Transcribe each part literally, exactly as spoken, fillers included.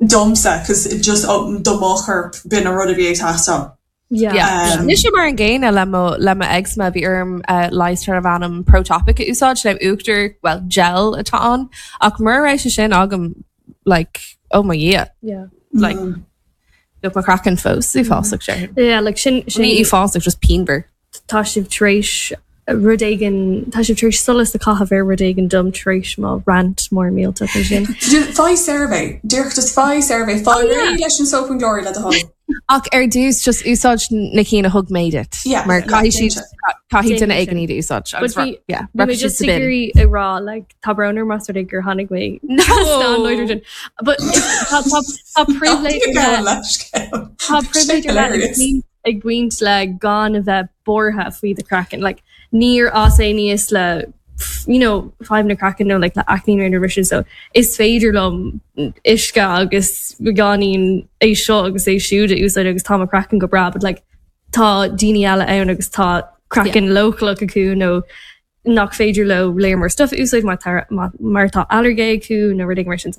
Domsa, cos just oh, do mo chorp b'in an rud a bhí ag teastáil. Yeah. Yeah. Um, Mise mar an gcéanna le mo le mo eczema bhí orm uh, leigheas darb ainm Protopic a úsáid le uachtar well gel atá ann ach mura raibh sé sin agam like oh my yeah Yeah. like mm. bheadh mo chraiceann fós uafásach sé. Yeah, like sin sin Ní uafásach just pianmhar. tá sibh tar éis rud éigin tá sibh tar éis solas a chaitheamh ar rud éigin dom tar éis mo rant mór millteach sin. Faigh survey Díreach just faigh survey Faigh réidh leis an soap and glory le do thoil. Ach ar dtús just úsáid na cinn a thug mé duit. Yeah, mar yeah, caithfidh siad caithfidh Déanfaidh duine éigin sin. iad a úsáid. But Agus bhí- yeah, Bhí mé rachaidh siad just sa bin. ag iarraidh a rá like tá brón orm más rud é gur tháinig mé No! an But tá tá- tá pribhléid ar leith- tá pribhléid ar leith ag baint- ag baint le gan a bheith buartha faoi do chraiceann. Like níor fhás aníos le you know fadhb na craiceann nó like le acne nó mar sin so is féidir liom uisce agus beagáinín é seo agus é siúd a úsáid agus tá mo chraiceann go breá, but like tá daoine eile ann agus tá craiceann leochaileach acu nó nach féidir leo léir mar stuff a úsáid mar tá- mar mar tá ailléirge acu nó rudaí mar sin.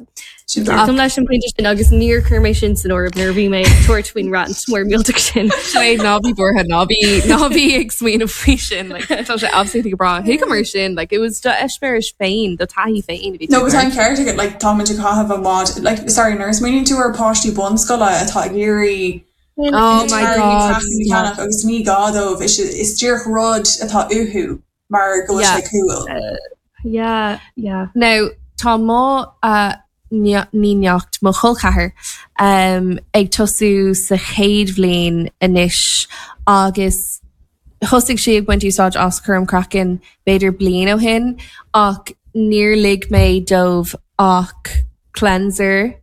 Sin Glacaim leis an pointe sin agus níor chuir mé sin san áireamh nuair a bhí mé ag tabhairt faoin rant mór millteach sin. Sinéad ná bí buartha ná bí ná bí ag smaoineamh faoi sin like, tá sé absolutely go breá. Thuig mar sin like it was do eispéireas féin do taithí féin a bhí No, tú but ag an ceart agat like tá muid ag caitheamh an bhád like sorry nuair a smaoiníonn tú ar páistí bunscoile atá ag iarraidh Oh my God. ceannach agus ní gá dóibh is is díreach rud atá uathu mar go bhfuil Yeah. sé cool. Yeah, yeah. Now tá mo uh, ní neacht mo chol ceathar um, ag tosú sa chéad bhliain anois agus thosaigh sí ag baint úsáid as cúram craicinn b'fhéidir bliain ó shin ach níor lig mé dóibh ach cleanser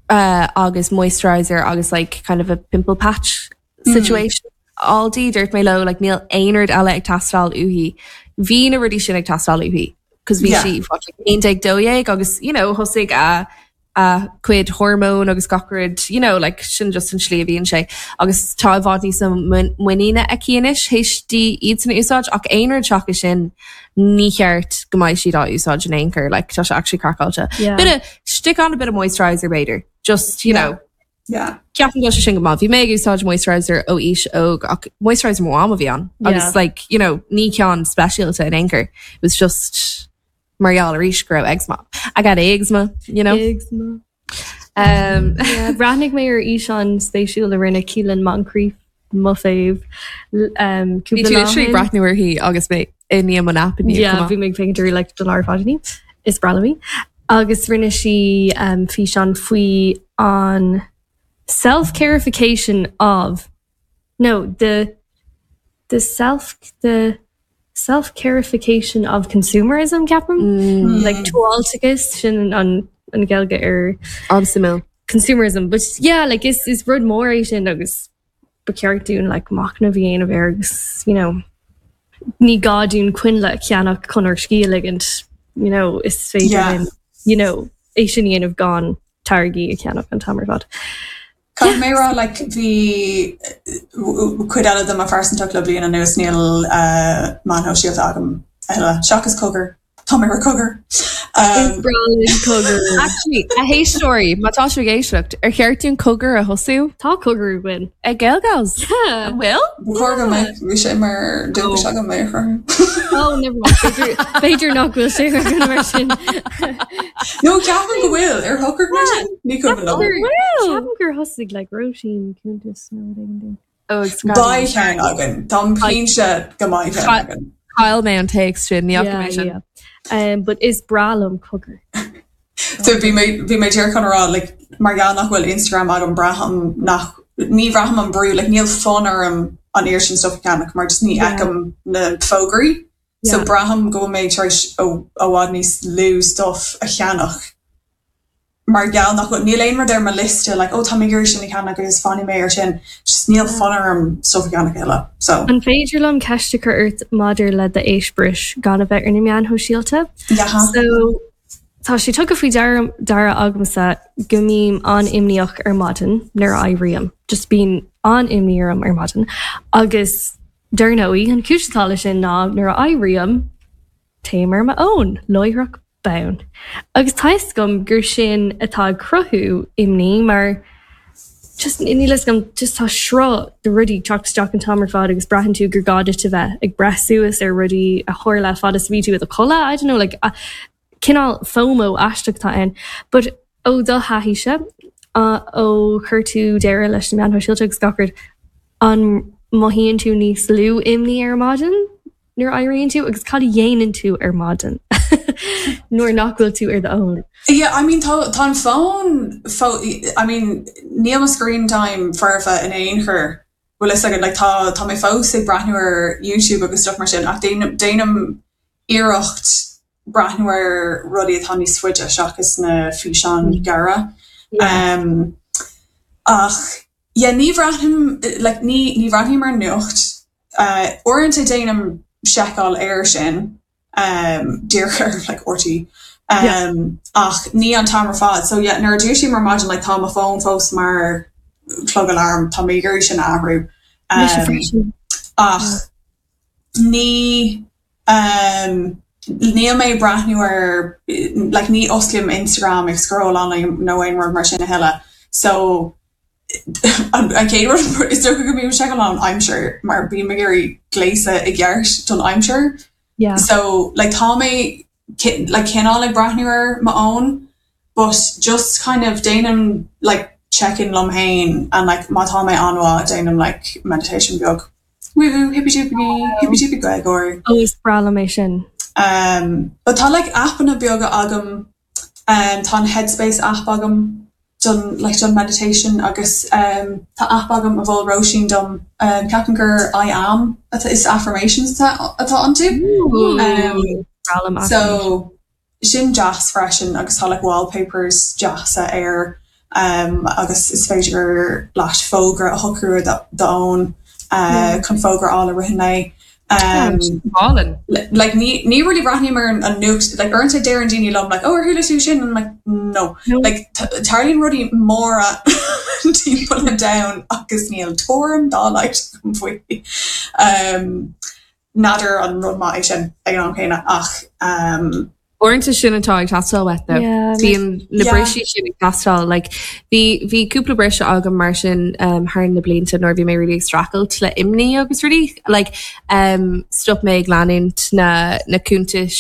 uh, agus moisturizer agus like kind of a pimple patch situation. Aldi dúirt mé leo like níl aon rud eile ag teastáil uaithi. Bhí na rudaí sin ag teastáil uaithi. Cos bhí Yeah. sí what, like, aon déag dó dhéag agus you know thosaigh a a cuid hormón agus gach rud you know like sin just an slí a bhíonn sé agus tá i bhfad níos muiníne aici anois théis di iad sin a úsáid ach aon rud seachas sin ní cheart go mbeidh siad á úsáid in aon chor like tá sé actually craiceáilte. Yeah. Bit of stick on a bit of moisturizer b'fhéidir just you Yeah. know Yeah. Ceapaim go sé sin go maith. Bhí mé ag úsáid moisturizer ó aois óg ach moisturizer mo mham a bhí ann. Yeah. Agus like you know ní ceann speisialta in aon chor. It was just mar gheall arís go raibh eczema. I got eczema, you know. Eczema. Um, Yeah, Bhreathnaigh mé ar fhíseán spéisiúil a rinne Keelan Moncrief mo fave. Um, Bhí tú literally breathnú uirthi agus mé i ndiaidh mo nap inniu, Yeah, come on. bhí mé féachaint like don lá fadní is breá liom í. Agus rinne sí um, físeán faoi an self-carification of no the the self the self-carification of consumerism ceapaim Mm, like tomhaltachas sin an an Ghaeilge ar An-suimiúil. consumerism but yeah like is is rud mór é sin agus ba cheart dúinn like machnamh a dhéanamh air agus you know ní gá dúinn coinnle a cheannach chun ár scíth a ligint you know is féidir Yeah. linn, you know é sin a dhéanamh gan táirgí a cheannach an t-am ar fad. Caithfidh mé rá like bhí cuid eile de mo phearsantacht le bliain anuas níl uh, meáin shóisialta agam a thuilleadh. Seachas cogar Tá mé ar cogar. Um, Breá linn cogar. Actually, a héisteoirí, má tá sibh ag éisteacht, ar cheart dúinn cogar a thosú Tá cogar againn. ag Gaelgals? Yeah. An bhfuil? B'fhéidir go mbeidh bhí sé mar dúchas agam mé chur. Oh, never mind. B'fhéidir b'fhéidir nach bhfuil sé ar mar sin. No ceapaim go bhfuil ar shocraigh mé sin? Ní cuimhin liom. Ceapaim gur thosaigh like Róisín cuntas nó rud éigin dúinn. Oh, Beidh ceann againn Tá cinnte go mbeidh ceann againn. Chaill mé an téacs sin ní Yeah, mé sin. yeah. Um, but is breá liom cogar. So bhí mé bhí mé díreach chun rá like, mar gheall nach bhfuil Instagram agam braithim nach ní bhraithim an brú like, níl fonn orm an oiread sin stuff a cheannach mar just ní Yeah. fheicim na fógraí. So Yeah. braithim go mé tar éis ó i bhfad níos lú stuff a cheannach. Mar gheall nach bhfuil níl aon rud ar mo liosta like, ó tá mé ag sin a cheannach agus fanfaidh mé ar sin just níl fonn orm stuff a cheannach eile. So An féidir liom ceist a chur ort maidir le d'eispéireas gan a bheith ar na meáin shóisialta? yeah. So tá sé tugtha faoi deara deara agamsa go mbím an-imníoch ar maidin nuair a éirím, just bíonn an-imní orm ar maidin. Agus dar ndóigh an chúis atá leis sin ná nuair a éirím téim ar m'fhón láithreach bonn. Agus tá a fhios agam gur sin atá ag cruthú imní mar just níl a fhios agam just tá sruth de rudaí teacht isteach an t-am ar fad agus braitheann tú gur gá duit a bheith ag breith suas ar rudaí a tharla fad is bhí tú i do chodladh I don't know like a cineál FOMO aisteach atá ann. But ó do thaithíse uh, ó chuir tú deireadh leis na meáin shóisialta agus gach rud an mothaíonn tú níos lú imní ar maidin nuair a éiríonn tú agus cad a dhéanann tú ar maidin nuair nach bhfuil tú ar d'fhón. Yeah, I mean tá tá an fón I mean níl mo screen time foirfe in aon chor bhfuil fhios agat like tá tá mé fós ag breathnú ar YouTube agus stuff mar sin ach déanaim déanaim iarracht breathnú ar rudaí atá níos faide seachas na físeáin ghearra. Um, ach yeah, ní bhreathnaím like, ní ní bhreathnaím ar nuacht. Uh, uaireanta déanaim seiceáil air sin um, díreach ar like, RTÉ. Um, ach ní an t-am ar fad. So yeah, nuair a dúisím ar maidin like, tá mo fón fós mar clog alarm tá mé gur sin athrú. Um, ach ní um, níl mé breathnú ar like, ní osclaím Instagram ag scroll an nó aon rud mar sin a thuilleadh. So an an chéad rud is dócha go mbím seiceáil an aimsir mar bím ag iarraidh gléasadh i gceart don aimsir. Yeah. So like tá mé like cineál ag breathnú ar m'fhón, but just kind of déanaim like check-in liom féin and like má tá mé an-mhaith déanaim like meditation beag. Woo woo hippy dippy hippy dippy Gregor. Ó is breá liom é sin. Um, but tá like appanna beaga agam um, tá an Headspace app agam don like don meditation agus um, tá app agam a mhol Róisín dom um, ceapaim gur I am atá is affirmations atá atá iontu. Um, Breá liom so sin deas freisin agus tá like wallpapers deasa air um, agus is féidir leat fógra a shocrú d'fhón uh, chun fógra á le rith mé. Um, Álainn. like ní ní really breathnaím ar an an nuacht like uaireanta deireann daoine liom like oh ar chuala tú sin and I'm like no No. like tarlaíonn rudaí móra timpeall an domhain agus níl tuairim dá laghad agam faoi um, n'fheadar an rud maith é sin ag an am céanna ach um, Uaireanta sin atá ag teastáil uait though. Yeah, Bíonn na Yeah. briseadh sin ag teastáil like bhí bhí cúpla briseadh agam mar sin um, thar na blianta nuair bhí mé really streachailt le imní agus rudaí like um, stop mé ag leanúint na na cuntais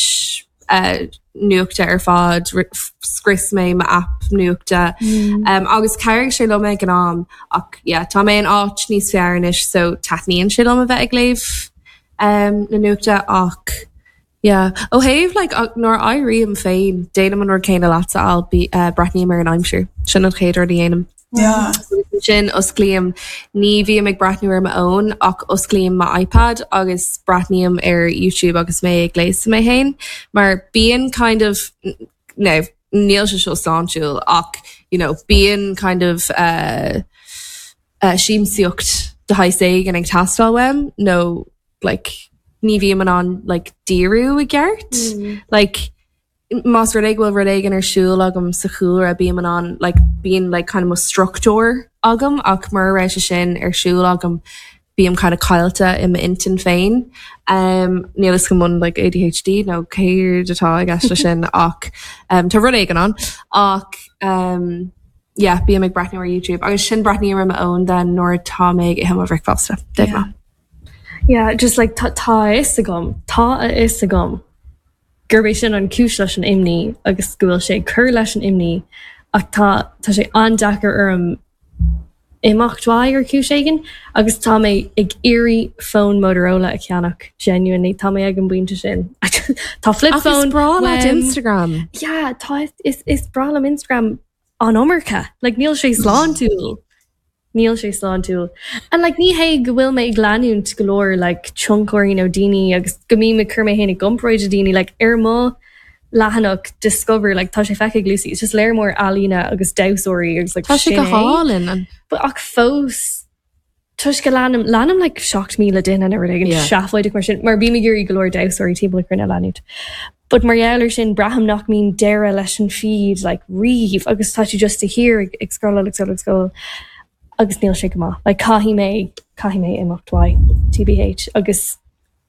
uh, nuachta ar fad ri- scrios mé mo app nuachta Mm. um, agus chabhraigh sé liom ag an am ach yeah, tá mé in áit níos fearr anois so taitníonn sé liom a bheith ag léamh um, na nuachta ach yeah. ó thaobh like nuair a éirím féin déanaim an rud céanna leatsa I'll be uh, breathnaím ar an aimsir sin an chéad rud a dhéanaim. yeah. Sin osclaím ní bhím ag breathnú ar m'fhón ach osclaím mo iPad agus breathnaím ar YouTube agus mé ag gléasadh mé féin mar bíonn kind of no níl sé seo sláintiúil ach you know bíonn kind of uh, uh, siamsaíocht de shaghas éigin ag teastáil uaim nó like ní bhím in ann like díriú i gceart Mm. like más rud é go bhfuil rud éigin ar siúl agam sa chúlra bím in ann like bíonn like kind of mo struchtúr agam ach mura raibh sé sin ar siúl agam bím kind of caillte i m'intinn féin. Um, níl a fhios agam an like ADHD nó céard atá i gceist leis sin ach um, tá rud éigin ann ach um, yeah, bím ag breathnú ar YouTube agus sin breathnaím ar m'fhón den nuair tá mé ag ithe mo bhricfeasta. Yeah. Yeah, just like tá tá a fhios agam tá a fhios agam gurb é sin an chúis leis an imní agus go bhfuil sé ag cur leis an imní ach tá tá sé an-deacair orm imeacht uaidh ar chúis éigin agus tá mé ag iarraidh fón Motorola a cheannach genuinely tá mé ag an bpointe sin Tá flip Ach is phone breá leat uaim. Instagram. Yeah, tá is is breá liom Instagram an iomarca like níl sé sláintiúil Níl sé sláintiúil. And like ní hé go bhfuil mé ag leanúint go leor like tionchairí nó daoine agus go mbím ag cur mé féin i gcomparáid le daoine like ar mo leathanach discover like tá sé feicthe ag Lucy it's just léir mór ealaíne agus damhsóirí agus like Tá sé sin go é. hálainn an But ach fós toisc go leanaim leanaim like seacht míle duine nó rud éigin Yeah. seafóideach mar sin mar bím ag iarraidh go leor damhsóirí timpeall na cruinne a leanúint. But mar gheall air sin braithim nach mbíonn deireadh leis an feed like riamh agus tá tú just a shíor ag ag scroll ag scroll ag scroll agus níl sé go maith. Like caithfidh mé caithfidh mé imeacht uaidh TBH agus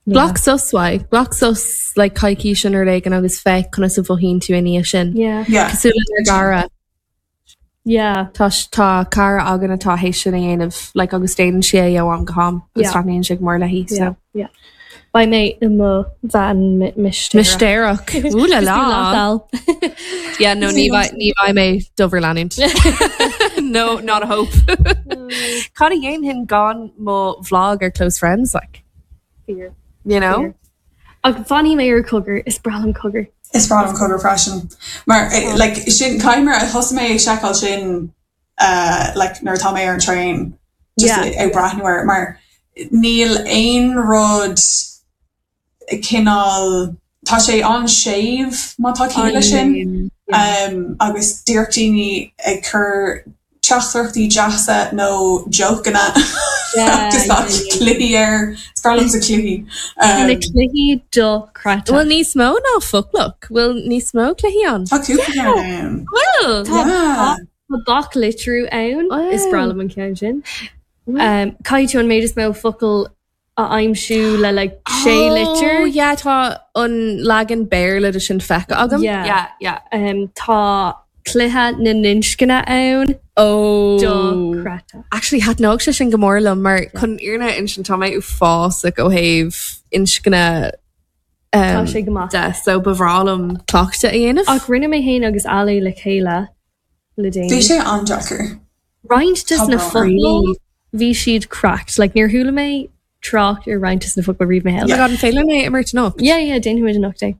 Glac sos uaidh, glac sos like coicís nó rud éigin agus féach conas a mhothaíonn tú ina dhiaidh sin. Yeah. Yeah. Cosúil lenár gcara. Yeah. Tá tá cara againn atá théis sin a dhéanamh like agus déanann sí é ó am go ham agus Yeah. taitníonn sé go mór léi Yeah. so. Yeah. Beidh mé i mo bhean mistéireach. Mistéireach. Ooh la la. Yeah, no, ní bheidh ní bheidh mé do bhur leanúint. No, not a hope. Cad a dhéanfainn gan mo vlog ar close friends like, Fear. you know? Ach fanfaidh mé ar Cogar is breá liom Cogar. Is breá liom Cogar freisin. Mar eh, like sin caimer a thosaigh mé ag seiceáil sin uh, like nuair atá mé ar an train just Yeah. ag breathnú air mar níl aon rud cineál tá sé an-séimh má tá ciall leis sin um, agus díreach daoine ag cur teachtaireachtaí deasa nó jokeanna Yeah, agus tá yeah, yeah. cluichí air is breá liomsa cluichí. Na Um, cluichí dochreidte. Bhfuil níos mó ná Foclach, bhfuil níos mó cluichí ann? Tá cúpla ceann ann. Bhfuil! Yeah. Tá bac litriú ann is Wow. breá liom an ceann sin. Um, Caithfidh tú an méid is mó focal a aimsiú le like sé Oh, litir. yeah, tá an leagan Béarla de sin feicthe agam. Yeah. Yeah, yeah. Um, tá cluiche na n-inscne ann Oh. dochreidte. Actually, thaitneodh sé sin go mór liom mar chun an fhírinne a insint tá mé uafásach ó thaobh inscne Tá um, sé go maith. de, so ba bhreá liom cleachtadh a dhéanamh. Ach rinne mé féin agus Ali le chéile le Bhí déanaí. sé an-deacair. Roinnt des Tá na brón. focail bhí siad cracked, like níor chuala mé trácht ar roinnt des na focail riamh i mo Oh my shaol. God, an féidir liom é imirt anocht? Yeah, yeah, déanfaimid anocht é.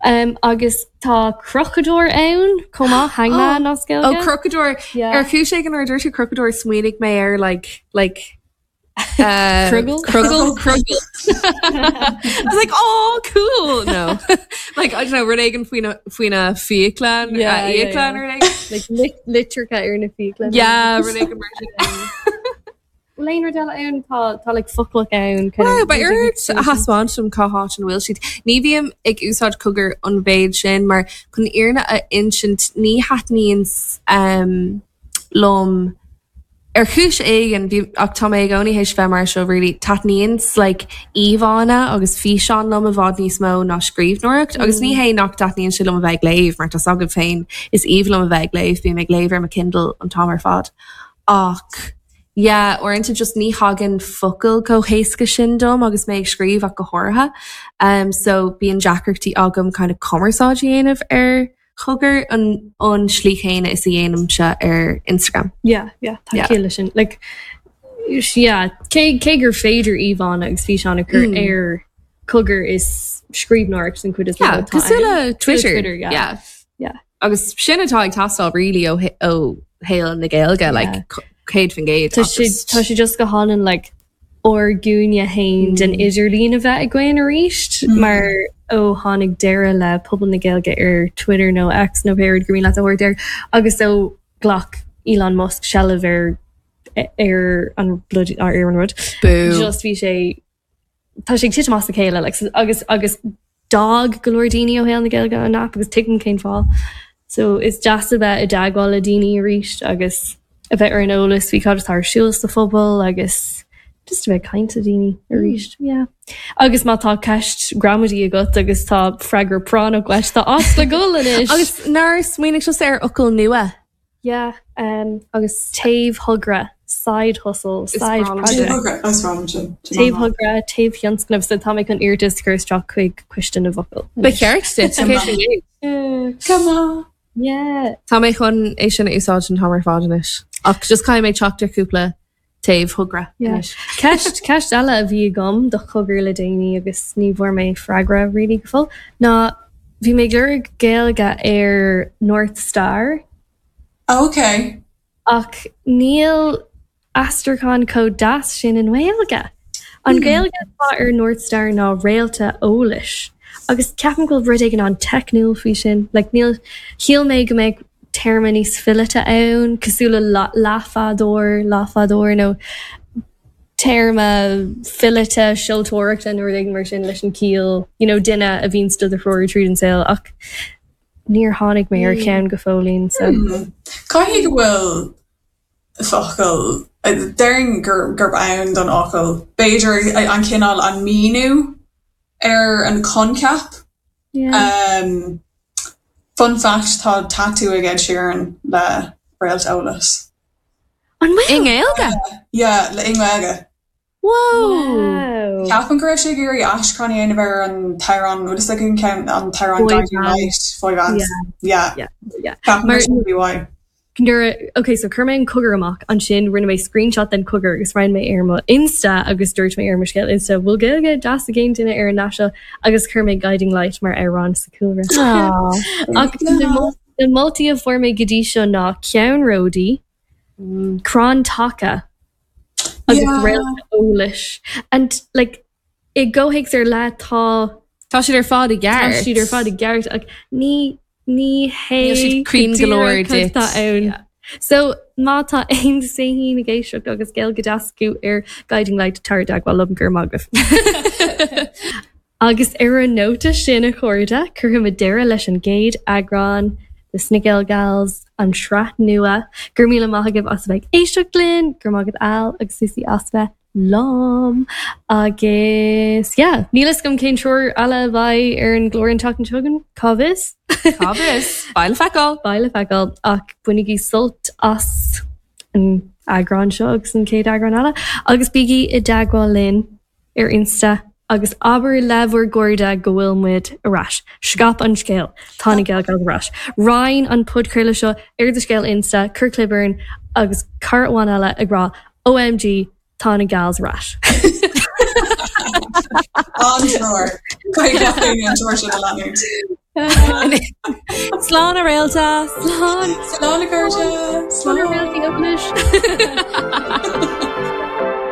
Um, agus tá crochadóir ann chomh maith hangman as Oh, Gaeilge. crochadóir. Yeah. Ar chúis éigin nuair a dúirt tú crochadóir smaoinigh mé ar like like uh, Crogall? Crogall Crogall. I was like, oh, cool. No, like I don't know, rud éigin faoina faoina fiacla Yeah, yeah, fiacla yeah. rud éigin. Like lit litreacha ar na fiacla. Yeah, rud éigin mar sin. Bhfuil aon rud eile ann tá tá like foclach ann kind Wow, of ba ort a thaispeáint dom cá háit an bhfuil siad. Ní bhím ag úsáid Cogar an mhéid sin mar chun an fhírinne a insint ní thaitníonn um, liom ar chúis éigin bhí ach tá mé i gcónaí théis bheith mar seo really taitníonn like íomhánna agus físeán liom i bhfad níos mó ná scríbhneoireacht agus ní hé nach dtaitníonn sé liom a bheith ag léamh mar tá agam féin is aoibhinn liom a bheith ag léamh bím ag léamh ar mo Kindle an t-am ar fad. Ach yeah, uaireanta just ní thagann focail chomh héasca sin dom agus mé ag scríobh ach go háirithe. Um, so bíonn deacrachtaí agam kind of cumarsáid a dhéanamh ar Chogar an an slí chéanna is a dhéanaimse ar Instagram. Yeah, yeah, tá Yeah. ciall leis sin. Like yeah, cé cé gur féidir íomhánna agus físeán a chur Mm. ar Cogar is scríbhneoireacht an chuid is mó Yeah, atá cosúil ann. le Twitter. Twitter, yeah. yeah. Yeah. Agus sin atá ag teastáil really ó ó shaol na Gaeilge, like Yeah. céad faoin gcéad. Tá sé tá sé just go hálainn like ár gcúinne féin den Mm. idirlíon a bheith againn arís Mm. mar ó tháinig deireadh le pobal na Gaeilge ar Twitter nó X nó pé rud gur mian leat a thabhairt air agus ó ghlac Elon Musk seilbh ar ar an bloody ar ar an rud. Boo. Just bhí sé tá sé ag titim as a chéile like, so- agus agus d'fhág go leor daoine ó shaol na Gaeilge an app agus tuigim cén fáth. So is deas a bheith i dteagmháil le daoine arís agus a bheith ar an eolas faoi cad atá ar siúl sa phobal agus just a bheith ag caint le daoine arís. Yeah. Agus má tá ceist gramadaí agat agus tá freagra práinneach uait tá áit le dul anois. Agus nár smaoinigh tusa ar fhocal nua yeah, um, agus taobhthogra, side hustle, side breá liom project. Taobhthogra, is breá liom sin. Taobhthogra, taobhthionscnamh so tá mé chun iarratas a chur isteach chuig Coiste na bhFocal. Ba cheart duit, céad faoin gcéad. Come on. Yeah. Tá mé chun é sin a úsáid an t-am ar fad anois. Ach just caithfidh mé teacht ar cúpla taobhthogra Yeah. anois. Ceist ceist eile a bhí agam do Chogar le déanaí agus ní bhfuair mé freagra really go fóill. Ná bhí mé ag lorg Gaeilge ar North Star Okay. ach níl aistriúchán chomh deas sin i nGaeilge. An Gaeilge atá ar North Star ná réalta eolais. Agus ceapaim go bhfuil rud éigin an-teicniúil faoi sin, like níl shíl mé go mbeadh téarma níos fileata ann, cosúil le la- leathbhádóir, leathbhádóir nó téarma fileata seoltóireachta nó rud éigin mar sin leis an ciall, you know, duine a bhíonn do do threorú tríd an saol ach níor tháinig mé ar cheann go fóillín so. Hmm. Caithfidh go bhfuil focal déarfainn gur gurb ann don fhocal. B'fhéidir an cineál an míniú ar an coincheap. Yeah. Um, fun fact tá tattoo ag Ed Sheeran le Réalt Eolais. An bhfuil? I nGaeilge? Yeah, le i nGaeilge. Whoa! Wow. Ceapaim go raibh sé ag iarraidh aistriúchán a dhéanamh ar an t-amhrán bhfuil a fhios an ceann an t-amhrán Boy Guiding Bands. Light, Boy Bands. Yeah. Yeah. Yeah, yeah. Ceapaim Mar- gur sin a bhí uaidh. Nuair okay, so chuir mé an cogar amach ansin rinne mé screenshot den cogar agus roinn mé ar mo Insta agus dúirt mé ar mo scéal Insta bhfuil Gaeilge deas ag aon duine ar an nasc seo agus chuir mé Guiding Light mar amhrán sa cúlra. Ach na mol- na moltaí a fuair mé go dtí seo ná ceannródaí, crann taca agus Yeah. réalt eolais. And like i gcomhthéacs ar leith tá Tá siad ar fad i tá gceart. siad ar fad i gceart ach ní ní hé Níl siad cruinn go leor go díreach duit. tá ann. Yeah. So má tá aon saoín ag éisteacht agus Gaeilge deas acu ar Guiding Light tar i dteagmháil liom go raibh maith agaibh. Agus ar an nóta sin a chairde cuirfimid deireadh leis an gcéad eagrán de na GaelGals an sraith nua gur míle maith agaibh as a bheith ag éisteacht linn, gur maigad al agus Suí as bheith lom agus yeah, níl a fhios agam cén triúr eile a bheidh ar an gclár an tseachtain seo chugainn cá bhfios? Cá bhfios? Beidh le feiceáil. Beidh le feiceáil ach bainigí sult as an eagrán seo agus an chéad eagrán eile agus bígí i dteagmháil linn ar Insta agus abair le bhur gcairde go bhfuil muid ar ais. Scaip an scéal tá na GaelGals ar ais. Roinn an podchraoladh seo ar do scéal Insta, cuir clib orainn agus cara amháin eile ag rá OMG tá na gals ar ais. An-treoir. Caithfidh gach éinne an treoir sin a leanúint. Slán a réalta. Slán Slán a chairde. Slán Slán. réaltaí eolais.